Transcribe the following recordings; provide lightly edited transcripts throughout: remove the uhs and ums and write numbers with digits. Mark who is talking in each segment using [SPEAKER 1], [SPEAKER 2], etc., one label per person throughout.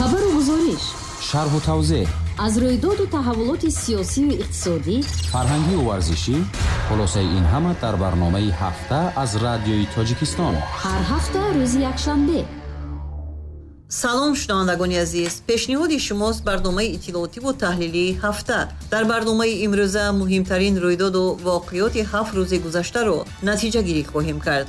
[SPEAKER 1] Хабару гузориш,
[SPEAKER 2] шарҳу тавзеҳ
[SPEAKER 1] аз рӯйдоду таҳаввулоти сиёсию иқтисодӣ,
[SPEAKER 2] фарҳангию варзишӣ. Хулосаи ин ҳама дар барномаи «Ҳафта» аз Радиои Тоҷикистон.
[SPEAKER 1] Ҳар ҳафта рӯзи якшанбе.
[SPEAKER 3] Салом, шунавандагони азиз! Пешниҳоди шумост барномаи иттилоотиву таҳлилии «Ҳафта». Дар барномаи имрӯза муҳимтарин рӯйдоду воқеоти 7 рӯзи гузаштаро натиҷагирӣ хоҳем кард.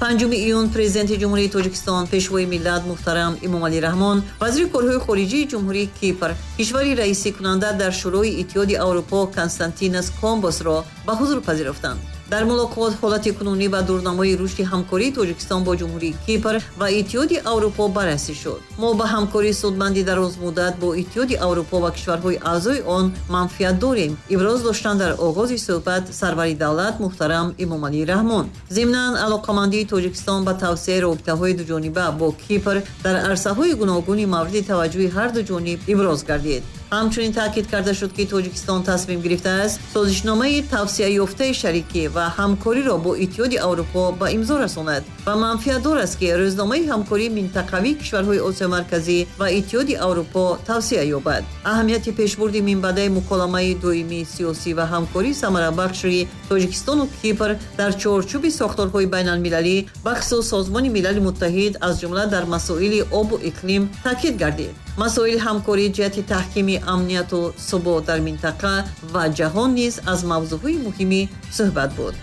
[SPEAKER 3] 5 июн Президенти Ҷумҳурии Тоҷикистон, Пешвои миллат муҳтарам Эмомалӣ Раҳмон вазири корҳои хориҷии Ҷумҳурии Кипр, кишвари раисикунанда дар Шӯрои Иттиҳоди Аврупо, Константинос Комбосро ба ҳузур пазируфтанд. Дар мулоқот ҳолати кунунӣ ва дурнамои рушди ҳамкории Тоҷикистон бо Ҷумҳурии Кипр ва Иттиҳоди Аврупо баррасӣ шуд. Мо ба ҳамкории судманди дарозмуддат бо Иттиҳоди Аврупо ва кишварҳои аъзои он манфиат дорем, иброз доштанд дар оғози суҳбат сарвари давлат муҳтарам Эмомалӣ Раҳмон. Зимнан, алоқамандии Тоҷикистон ба тавсеаи робитаҳои дуҷониба бо Кипр дар арсаҳои гуногуни мавриди таваҷҷӯҳи ҳар ду ҷониб иброз гардид. Ҳамчунин таъкид карда шуд, ки Тоҷикистон тасмим гирифтааст созишномаи тавсеаёфтаи шарикӣ ва ҳамкориро бо Иттиҳоди Аврупо ба имзо расонад ва манфиатдор аст, ки рӯзномаи ҳамкории минтақавии кишварҳои Осиёи Марказӣ ва Иттиҳоди Аврупо тавсеа ёбад. Аҳамияти пешбурди минбаъдаи муколамаи доимии сиёсӣ ва ҳамкории самарабахши Тоҷикистону Кипр дар чорчӯби сохторҳои байналмилалӣ, бахусус Созмони Милали Муттаҳид, аз ҷумла дар масоили обу иқлим таъкид гардид. Масоили ҳамкорӣ ҷиҳати таҳкими амнияту субот дар минтақа ва ҷаҳон низ аз мавзӯъҳои муҳими суҳбат буд.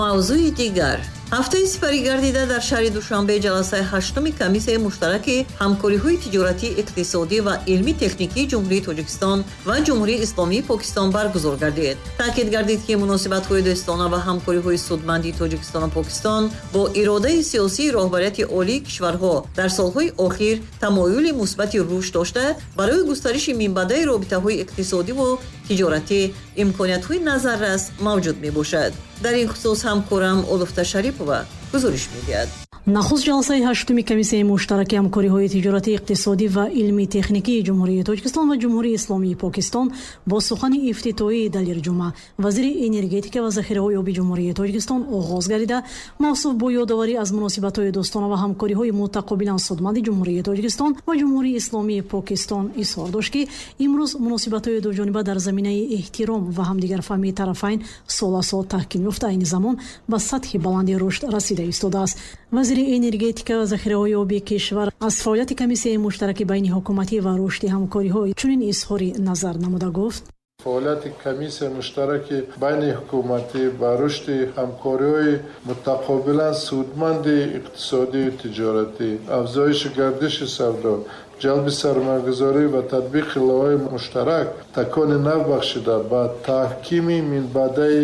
[SPEAKER 3] Мавзӯи дигар. Ҳафтаи сипарӣ гардида дар шаҳри Душанбе ҷаласаи ҳаштуми Комиссияи муштараки ҳамкориҳои тиҷоратӣ, иқтисодӣ ва илмӣ-техникии Ҷумҳурии Тоҷикистон ва Ҷумҳурии Исломии Покистон баргузор гардид. Таъкид гардид, ки муносибатҳои дӯстона ва ҳамкориҳои судманди Тоҷикистону Покистон бо иродаи сиёсии роҳбарияти олии кишварҳо дар солҳои охир тамоюли мусбати рушд дошта, барои густариши минбаъдаи робитаҳои иқтисодиву тиҷоратӣ имкониятҳои назаррас мавҷуд мебошад. Дар ин хусус ҳамкорам Олуфта Шарипова гузориш медиҳад.
[SPEAKER 4] Нахуст ҷаласаи ҳаштуми Комиссияи муштараки ҳамкориҳои тиҷоратӣ, иқтисодӣ ва илмӣ-техникии Ҷумҳурии Тоҷикистон ва Ҷумҳурии Исломии Покистон бо сухани ифтитоҳии Далер Ҷума, вазири энергетика ва захираҳои оби Ҷумҳурии Тоҷикистон, оғоз гардида, мавсуф бо ёдоварӣ аз муносибатҳои дӯстона ва ҳамкориҳои мутақобилан судманди Ҷумҳурии Тоҷикистон ва Ҷумҳурии Исломии Покистон изҳор дошт, ки имрӯз муносибатҳои дуҷониба дар заминаи эҳтиром ва ҳамдигарфаҳмии тарафайн сол аз сол таҳким ёфта, айни замон ба сатҳи баланди рушд расида истодааст. Вазири энергетика ва захираҳои оби кишвар аз фаъолияти Комиссияи муштараки байниҳукуматӣ ва рушди ҳамкориҳо чунин изҳори назар намуда гуфт:
[SPEAKER 5] Фаъолияти Комиссияи муштараки байниҳукуматӣ ба рушди ҳамкориҳои мутақобилан судманди иқтисодию тиҷоратӣ, афзоиши гардиши савдо, ҷалби сармоягузорӣ ва татбиқи лоиҳаҳои муштарак такони нав бахшида, ба таҳкими минбаъдаи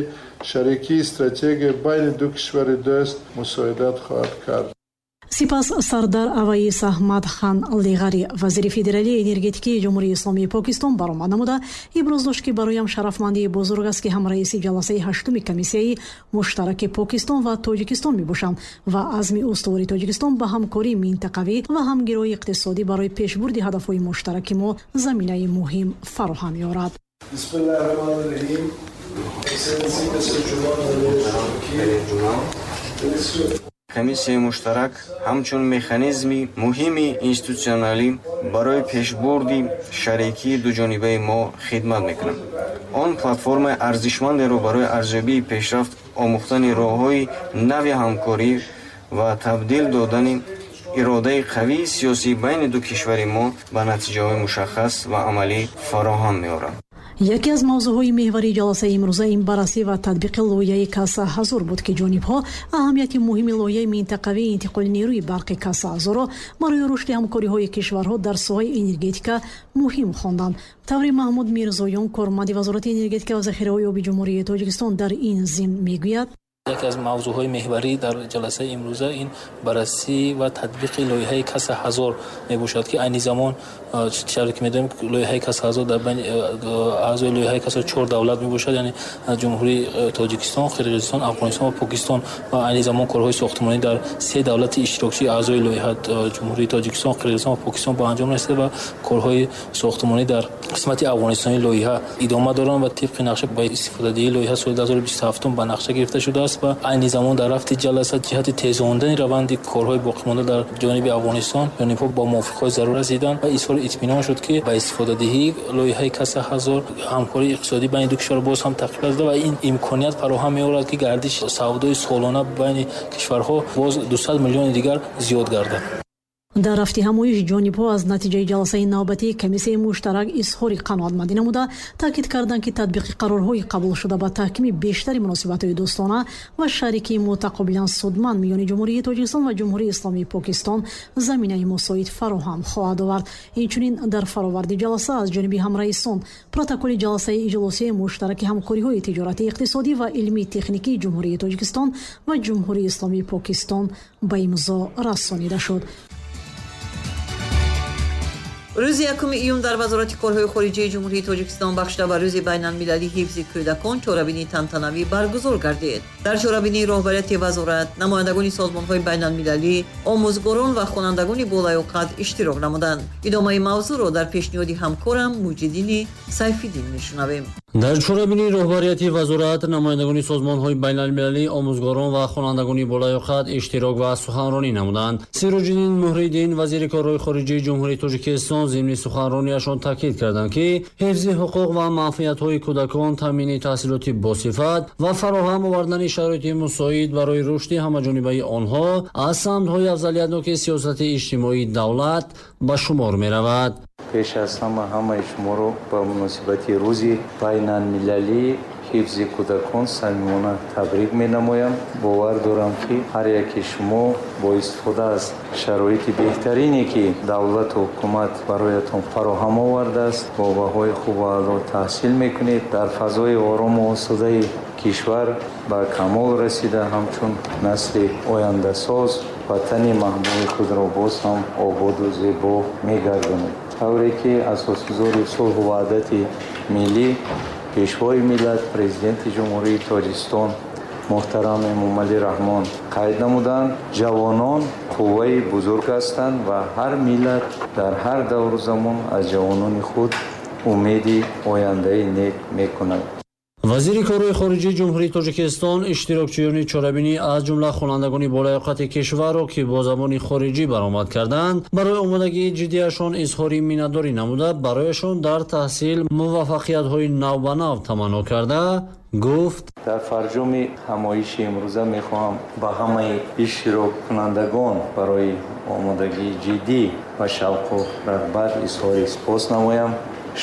[SPEAKER 5] шарикии стратегия байни ду кишвари дӯст мусоидат хоҳад кард.
[SPEAKER 4] Сипас Сардар Аваис Аҳмад Хан Леғарӣ, вазири федералии энергетикии Ҷумҳурии Исломии Покистон, баромад намуда иброз дошт, ки бароям шарафмандии бузург аст, ки ҳамраиси ҷаласаи ҳаштуми Комиссияи муштараки Покистон ва Тоҷикистон мебошам ва азми устувори Тоҷикистон ба ҳамкории минтақавӣ ва ҳамгироии иқтисодӣ барои пешбурди ҳадафҳои муштараки мо заминаи муҳим фароҳам меорад.
[SPEAKER 5] Бисмиллаҳир. Excellency Mr. Juma.
[SPEAKER 6] Комиссияи муштарак ҳамчун механизми муҳими институтсионалӣ барои пешбурди шарикии дуҷонибаи мо хидмат мекунад. Он платформаи арзишмандеро барои арзёбии пешрафт, омӯхтани роҳҳои нави ҳамкорӣ ва табдил додани иродаи қавии сиёсӣ байни ду кишвари мо ба натиҷаҳои мушаххас ва амалӣ фароҳам меорад.
[SPEAKER 4] Яке аз мавзӯъҳои меҳварии ҷаласаи имрӯза ин баррасӣ ва татбиқи лоиҳаи Каса 1000 буд, ки ҷонибҳо аҳамияти муҳими лоиҳаи минтақавии интиқоли нерӯи барқи Каса 1000-ро барои рушди ҳамкориҳои кишварҳо дар соҳаи энергетика муҳим хонданд. Таври Маҳмуд Мирзоён, корманди Вазорати энергетика ва захираҳои оби Ҷумҳурии Тоҷикистон, дар ин зимн мегӯяд:
[SPEAKER 7] Яке аз мавзӯъҳои меҳварӣ дар ҷаласаи имрӯза ин баррасӣ ва татбиқи лоиҳаи Каса 1000 мебошад, ки айни замон, чаро ки медонем, лоиҳаи Каса 1000 дар байни аъзои лоиҳаи Каса чор давлат мебошад, яъне Ҷумҳурии Тоҷикистон, Қирғизистон, Афғонистон ва Покистон. Ва айни замон корҳои сохтмонӣ дар се давлати иштирокчии аъзои лоиҳа, Ҷумҳурии Тоҷикистон, Қирғизистон ва Покистон, ба анҷом расида ва корҳои сохтмонӣ дар қисмати афғонистони лоиҳа идома доранд ва тибқи нақша ба истифодадиҳии лоиҳа соли 2027 ба нақша гирифта шудааст. аст ва айни замон дар рафти ҷаласа ҷиҳати тезондани раванди корҳои боқимонда дар ҷониби Афғонистон ҷонибҳо бо мувофиқҳои зарур расиданд ва изҳори итминон шуд, ки ба истифодадиҳии лоиҳаи Каса 1000 ҳамкории иқтисодӣ байни ду кишвар боз ҳам тақвият ёфта ва ин имконият фароҳам меорад, ки гардиши савдои солона байни кишварҳо боз 200 миллиони дигар зиёд гардад.
[SPEAKER 4] Дар рафти ҳамоиш ҷонибҳо аз натиҷаи ҷаласаи навбатии комиссияи муштарак изҳори қаноатмандӣ намуда, таъкид карданд, ки татбиқи қарорҳои қабулшуда ба таҳкими бештари муносибатҳои дӯстона ва шарикии мутақобилан судманд миёни Ҷумҳурии Тоҷикистон ва Ҷумҳурии Исломии Покистон заминаи мусоид фароҳам хоҳад овард. Инчунин дар фароварди ҷаласа аз ҷониби ҳамраисон протоколи ҷаласаи иҷлосияи муштараки ҳамкориҳои тиҷоратӣ, иқтисодӣ ва илмии техникии Ҷумҳурии Тоҷикистон ва Ҷумҳурии Исломии Покистон ба имзо расонида шуд.
[SPEAKER 3] Рӯзи 1 июн дар Вазорати корҳои хориҷии Ҷумҳурии Тоҷикистон бахшида ба рӯзи байналмилалии ҳифзи кӯдакон чорабинии тантанавӣ баргузор гардид. Дар чорабинии роҳбарияти вазорат, намояндагони созмонҳои байналмилалӣ, омӯзгорон ва хонандагони болаёқат иштирок намуданд. Идомаи мавзӯъро дар пешниҳоди ҳамкорам Муҷиддини Сайфиддин мешунавем.
[SPEAKER 8] Дар чорабинии роҳбарияти вазорат, намояндагони созмонҳои байналмилалӣ, омӯзгорон ва хонандагони болаёқат иштирок ва суханронӣ намуданд. Сироҷиддин Муҳриддин, вазири корҳои хориҷии Ҷумҳурии Тоҷикистон, зимни суханрониашон таъкид карданд, ки ҳифзи ҳуқуқ ва манфиатҳои кӯдакон, таъмини таҳсилоти босифат ва фароҳам овардани шароити мусоид барои рушди ҳамаҷонибаи онҳо аз самтҳои афзалиятноки сиёсати иҷтимоии давлат ба шумор меравад.
[SPEAKER 9] Пеш аз ҳама ҳамаи шуморо ба муносибати рӯзи байналмилалии ҳифзи кӯдакон самимона табрик менамоям. Бовар дорам, ки ҳар яке шумо бо истифода аз шароити беҳтарине, ки давлату ҳукумат бароятон фароҳам овардааст, бо баҳои хубу аъло таҳсил мекунед, дар фазои орому осудаи кишвар ба камол расида, ҳамчун насли ояндасоз ватани маҳбуби худро боз ҳам ободу зебо мегардонед. Тавре ки асосгузори сулҳу ваҳдати миллӣ, Пешвои миллат, Президенти Ҷумҳурии Тоҷикистон муҳтарам Эмомалӣ Раҳмон қайд намуданд, ҷавонон қувваи бузург ҳастанд ва ҳар миллат дар ҳар давру замон аз ҷавонони худ умеди ояндаи нек мекунад.
[SPEAKER 8] Вазири корҳои хориҷии Ҷумҳурии Тоҷикистон иштирокчиёни чорабинӣ аз ҷумла хонандагони болаёқати кишварро, ки бо забони хориҷӣ баромад карданд, барои омодагии ҷиддиашон изҳори миннатдорӣ намуда, барояшон дар таҳсил муваффақиятҳои навбанав таманно карда гуфт:
[SPEAKER 9] Дар фарҷоми ҳамоиши имрӯза мехоҳам ба ҳамаи иштироккунандагон барои омодагии ҷиддӣ ва шавқу рағбат изҳори сипос намоям.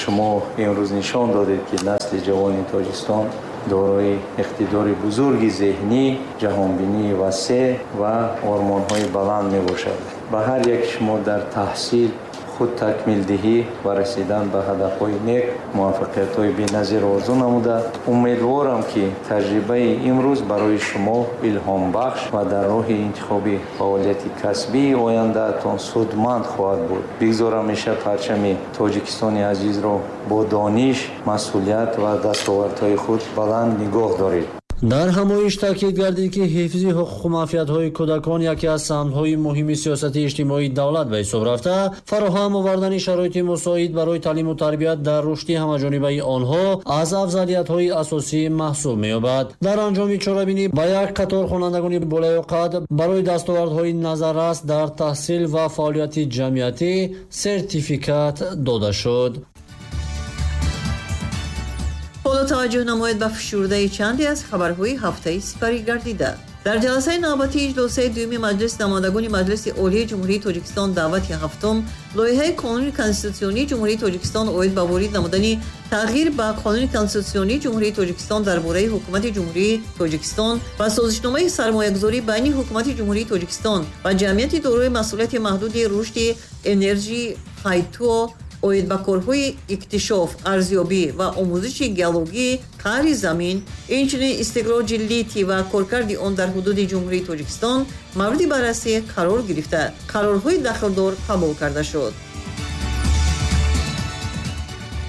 [SPEAKER 9] Шумо имрӯз нишон додед, ки насли ҷавони Тоҷикистон дорои иқтидори бузурги зеҳнӣ, ҷаҳонбинии васеъ ва ормонҳои баланд мебошад. Ба ҳар яки шумо дар таҳсил, худ такмилдиҳӣ ва расидан ба ҳадафҳои нек муваффақиятҳои беназир орзу намуда, умедворам, ки таҷрибаи имрӯз барои шумо илҳомбахш ва дар роҳи интихоби фаъолияти касбии ояндаатон судманд хоҳад буд. Бигзор ҳамеша парчами Тоҷикистони азизро бо дониш, масъулият ва дастовардҳои худ баланд нигоҳ доред.
[SPEAKER 8] Дар ҳамоиш таъкид гардид, ки ҳифзи ҳуқуқу манфиатҳои кӯдакон яке аз самтҳои муҳими сиёсати иҷтимоии давлат ба ҳисоб рафта, фароҳам овардани шароити мусоид барои таълиму тарбият дар рушди ҳамаҷонибаи онҳо аз афзалиятҳои асосӣ маҳсуб меёбад. Дар анҷоми чорабинӣ ба як қатор хонандагони болаёқат барои дастовардҳои назаррас дар таҳсил ва фаъолияти ҷамъиятӣ сертификат дода шуд.
[SPEAKER 3] Ҳоло таваҷҷӯҳ намоед ба фишурдаи чанде аз хабарҳои ҳафтаи сипарӣ гардида. Дар ҷаласаи навбатии иҷлосияи дуюми Маҷлиси намояндагони Маҷлиси Олии Ҷумҳурии Тоҷикистон даъвати ҳафтум лоиҳаи Қонуни Конститутсионии Ҷумҳурии Тоҷикистон оид ба ворид намудани тағйир ба Қонуни Конститутсионии Ҷумҳурии Тоҷикистон дар бораи Ҳукумати Ҷумҳурии Тоҷикистон ва созишномаи сармоягузорӣ байни Ҳукумати Ҷумҳурии Тоҷикистон ва ҷамъияти дорои масъулияти маҳдуди рушди энержии Хайтуо оид ба корҳои иктишоф, арзёбӣ ва омӯзиши геологии қаъри замин, инчунин истихроҷи литий ва коркарди он дар ҳудуди Ҷумҳурии Тоҷикистон мавриди баррасӣ қарор гирифта, қарорҳои дахлдор қабул карда шуд.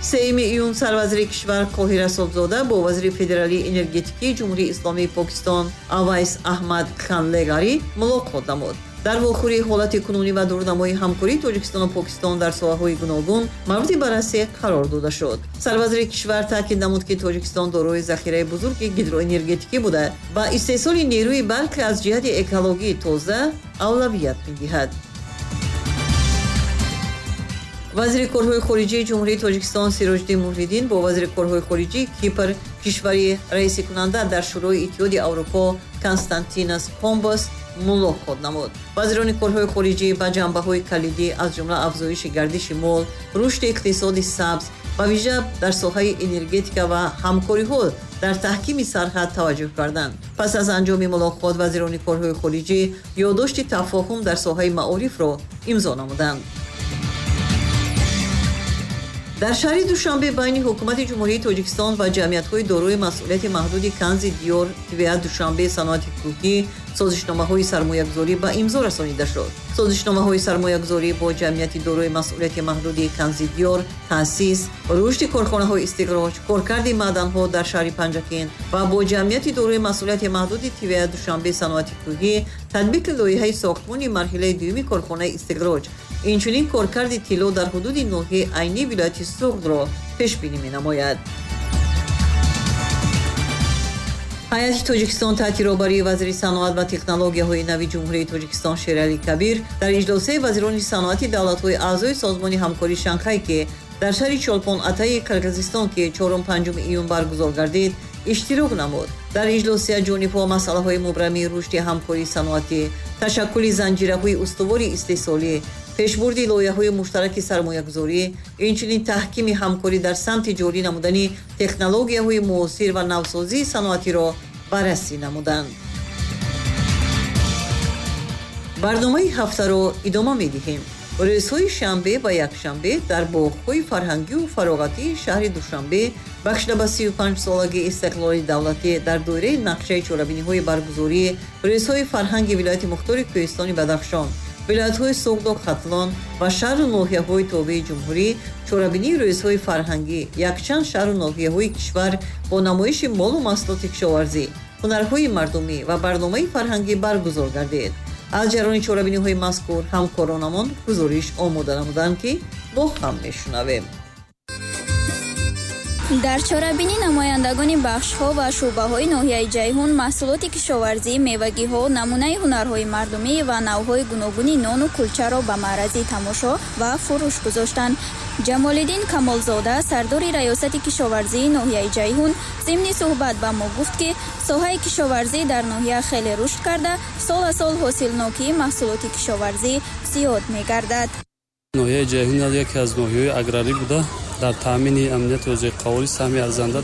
[SPEAKER 3] 3 июн сарвазири кишвар Қоҳир Расулзода бо вазири федералии энергетикии Ҷумҳурии Исломии Покистон Авайс Аҳмад Хан Леғарӣ мулоқот намуд. Дар вохӯрӣ ҳолати кунунӣ ва дурнамои ҳамкории Тоҷикистону Покистон дар соҳаҳои гуногун мавриди баррасӣ қарор дода шуд. Сарвазири кишвар таъкид намуд, ки Тоҷикистон дорои захираи бузурги гидроэнергетикӣ буда, ба истеҳсоли нерӯи барқи аз ҷиҳати экологии тоза авлавият медиҳад. Вазири корҳои хориҷии Ҷумҳурии Тоҷикистон Сироҷиддин Муҳриддин бо вазири корҳои хориҷии Кипр, кишвари раисикунанда дар Шӯрои Иттиҳоди Аврупо Константинос Комбос мулоқот намуд. Вазирони корҳои хориҷӣ ба ҷанбаҳои калидӣ, аз ҷумла афзоиши гардиши мол, рушди иқтисоди сабз, ба вижа дар соҳаи энергетика ва ҳамкориҳо дар таҳкими сарҳад таваҷҷӯҳ карданд. Пас аз анҷоми мулоқот вазирони корҳои хориҷӣ ёддошти тафоҳум дар соҳаи маорифро имзо намуданд. Дар шаҳри Душанбе байни ҳукумати Ҷумҳурии Тоҷикистон ва ҷамъиятҳои дорои масъулияти маҳдуди Канзи Диёр, ТВА Душанбе саноати кӯҳӣ созишномаҳои сармоягузорӣ ба имзо расонида шуд. Созишномаҳои сармоягузорӣ бо ҷамъияти дорои масъулияти маҳдуди Канзи Диёр, таъсис, рушди корхонаҳои истиқроҷ, коркарди маъданҳо дар шаҳри Панҷакент ва бо ҷамъияти дорои масъулияти маҳдуди ТВА Душанбе саноати кӯҳӣ татбиқи лоиҳаи сохтмони марҳилаи дуюми корхонаи истиқроҷ, инчунин коркарди тилло дар ҳудуди ноҳияи Айнӣ вилояти Суғдро пешбинӣ менамояд. Ҳайати Тоҷикистон таҳти роҳбарии вазири саноат ва технологияҳои нави Ҷумҳурии Тоҷикистон Шералӣ Кабир дар иҷлосияи вазирони саноати давлатҳои аъзои Созмони ҳамкории Шанхай, ки дар шаҳри Чолпон-Атаи Қирғизистон, ки 4-5 июн баргузор гардид, иштирок намуд. Дар иҷлосия ҷонибҳо масъалаҳои мубрамии рушди ҳамкории саноатӣ, ташаккули занҷираҳои устувори истеҳсолӣ, пешбурди лоиҳаҳои муштараки сармоягузорӣ, инчунин таҳкими ҳамкорӣ дар самти ҷорӣ намудани технологияҳои муосир ва навсозии саноатиро баррасӣ намуданд. Барномаи ҳафтаро идома медиҳем. Рӯзҳои шанбе ва якшанбе дар боғҳои фарҳангию фароғатии шаҳри Душанбе бахшида ба 35-солагии истиқлоли давлатӣ дар доираи нақшаи чорабиниҳои баргузории рӯзҳои фарҳанги вилояти мухтори Кӯҳистони Бадахшон, вилоятҳои Суғду Хатлон ва шаҳру ноҳияҳои тобеи ҷумҳурӣ чорабинии рӯзҳои фарҳангӣ якчанд шаҳру ноҳияҳои кишвар бо намоиши молу маҳсулоти кишоварзӣ, ҳунарҳои мардумӣ ва барномаи фарҳангӣ баргузор гардид. Аз ҷараёни чорабиниҳои мазкур ҳамкоронамон гузориш омода намуданд, ки бо ҳам мешунавем.
[SPEAKER 10] Дар чорабинӣ намояндагони бахшҳо ва шӯъбаҳои ноҳияи Ҷайҳун маҳсулоти кишоварзӣ, мевагиҳо, намунаи ҳунарҳои мардумӣ ва навъҳои гуногуни нону кулчаро ба маърази тамошо ва фурӯш гузоштанд. Ҷамолиддин Камолзода, сардори раёсати кишоварзии ноҳияи Ҷайҳун, зимни суҳбат ба мо гуфт, ки соҳаи кишоварзӣ дар ноҳия хеле рушд карда, сол аз сол ҳосилнокии маҳсулоти кишоварзӣ зиёд мегардад.
[SPEAKER 11] Ноҳияи Ҷайҳун яке аз ноҳияҳои аграрӣ буда, дар таъмини амнияти озиқаворӣ саҳми арзанда